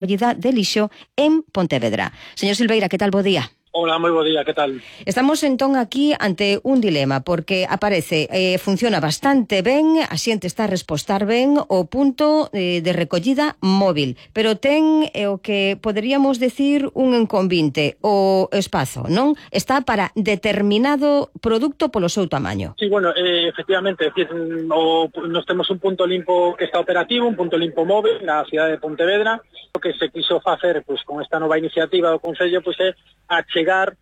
recollida de lixo en Pontevedra. Señor Silveira, que tal, bo día? Hola, moi bo día, que tal? Estamos entón aquí ante un dilema, porque aparece, funciona bastante ben, a xente está a respostar ben o punto de recollida móvil, pero ten o que poderíamos decir un inconvinte, o espazo, non? Está para determinado produto polo seu tamaño. Sí, bueno, efectivamente, decir, nos temos un punto limpo que está operativo, un punto limpo móvil na cidade de Pontevedra. O que se quiso facer con esta nova iniciativa do Concello é achegar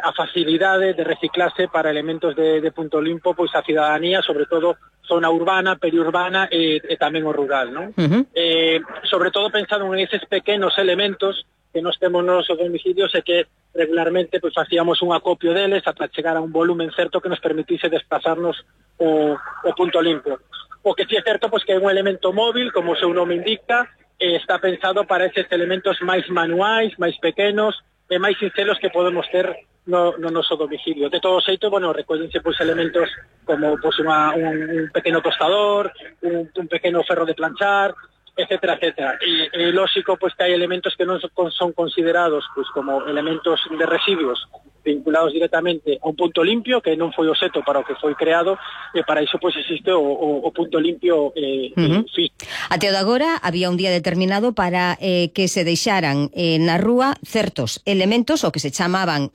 a facilidade de reciclarse para elementos de punto limpo a cidadanía, sobre todo zona urbana, periurbana e tamén o rural, non? Sobre todo pensando en eses pequenos elementos que nos temos nos domicilios e que regularmente facíamos un acopio deles ata chegar a un volumen certo que nos permitise desplazarnos o punto limpo. O que sí é certo que é un elemento móvil, como o seu nome indica, está pensado para eses elementos máis manuais, máis pequenos e máis sincelos que podemos ter no noso domicilio. De todo xeito, recollense elementos como un pequeno tostador, un pequeno ferro de planchar, etcétera, etcétera. E lógico que hai elementos que non son considerados como elementos de residuos vinculados directamente a un punto limpio, que non foi o xeito para o que foi creado, e para iso existe o punto limpio físico. Até o de agora había un día determinado para que se deixaran na rúa certos elementos, o que se chaman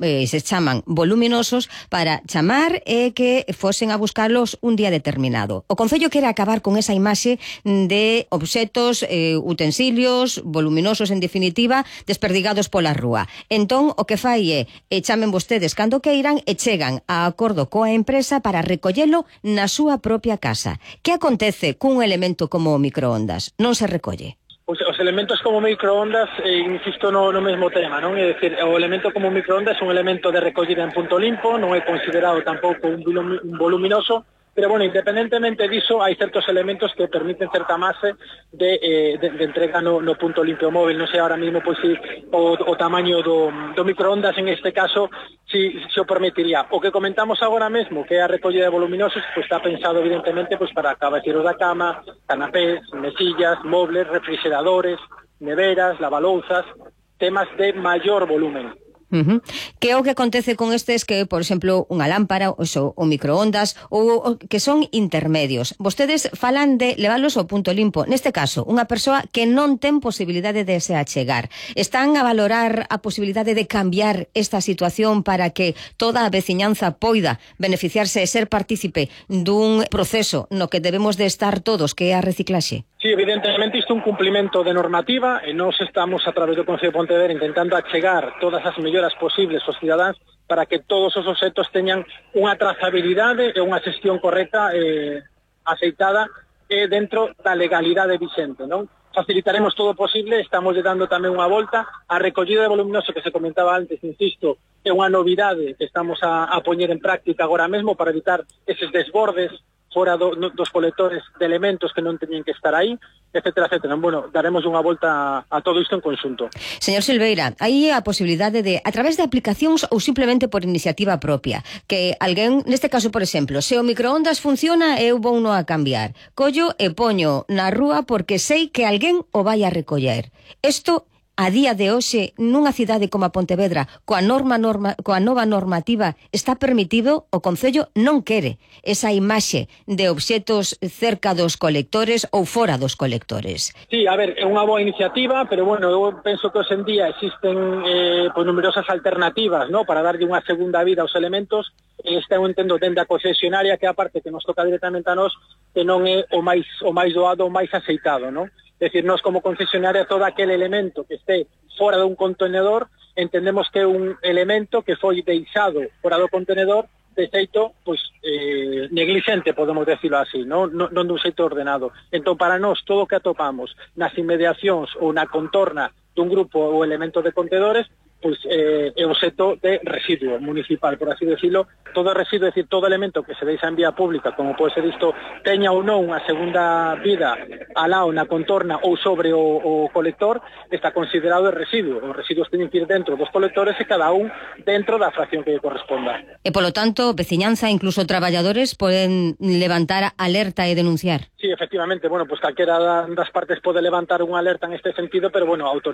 voluminosos, para chamar e que fosen a buscarlos un día determinado. O Concello quere acabar con esa imaxe de obxetos, utensilios, voluminosos en definitiva, desperdigados pola rúa. Entón, o que fai é chamen vostedes cando queiran e chegan a acordo coa empresa para recollelo na súa propia casa. Que acontece cun elemento como o microondas? Non se recolle? Os elementos como microondas, insisto no mesmo tema, non? É dicir, o elemento como microondas é un elemento de recollida en punto limpo, non é considerado tampouco un voluminoso, pero, independentemente diso, hai certos elementos que permiten certa mase de entrega no punto limpio móvil. Non sei ahora mismo si o tamaño do microondas en este caso si o permitiría. O que comentamos agora mesmo, que é a recollida de voluminosos, está pensado evidentemente para cabeceiros da cama, canapés, mesillas, mobles, refrigeradores, neveras, lavalouzas, temas de maior volumen. Que é o que acontece con estes que, por exemplo, unha lámpara, o microondas, ou que son intermedios? Vostedes falan de leválos ao punto limpo. Neste caso, unha persoa que non ten posibilidade de se achegar. Están a valorar a posibilidade de cambiar esta situación para que toda a veciñanza poida beneficiarse e ser partícipe dun proceso no que debemos de estar todos, que é a reciclaxe? Sí, evidentemente isto é un cumplimento de normativa e nós estamos a través do Concello de Pontevedra intentando achegar todas as melloras posibles aos cidadáns para que todos os obxetos teñan unha trazabilidade e unha xestión correcta aceitada dentro da legalidade vicente, non? Facilitaremos todo o posible, estamos dando tamén unha volta. A recollida de voluminoso que se comentaba antes, insisto, é unha novidade que estamos a poñer en práctica agora mesmo para evitar eses desbordes fora dos colectores de elementos que non teñen que estar aí, etcétera, etcétera. Daremos unha volta a todo isto en conxunto. Señor Silveira, hai a posibilidade de, a través de aplicacións ou simplemente por iniciativa propia, que alguén, neste caso, por exemplo, se o microondas funciona, eu vou no a cambiar. Collo e poño na rúa porque sei que alguén o vai a recoller. Isto, a día de hoxe, nunha cidade como a Pontevedra, coa nova normativa, está permitido? O Concello non quere esa imaxe de obxetos cerca dos colectores ou fora dos colectores. Sí, a ver, é unha boa iniciativa, pero eu penso que hoxe en día existen numerosas alternativas, ¿no?, para darlle unha segunda vida aos elementos. Eu entendo dende a concesionaria que a parte que nos toca directamente a nós, que non é o máis doado, o máis aceitado, ¿no? É dicir, nós como concesionaria, todo aquel elemento que este fora dun contenedor, entendemos que é un elemento que foi deixado fora do contenedor de xeito, negligente, podemos decirlo así, non dun xeito ordenado. Entón, para nós, todo o que atopamos nas inmediacións ou na contorna dun grupo ou elemento de contedores, pois é obxecto de residuo municipal, por así decirlo. Todo residuo, é dicir, todo elemento que se deixa en vía pública, como pode ser isto, teña ou non unha segunda vida alá ou na contorna ou sobre o colector, está considerado de residuo. Os residuos teñen que ir dentro dos colectores e cada un dentro da fracción que lle corresponda. E, polo tanto, veciñanza, incluso traballadores, poden levantar alerta e denunciar. Sí, efectivamente, bueno, pues calquera das partes pode levantar unha alerta en este sentido, pero bueno, a autoridade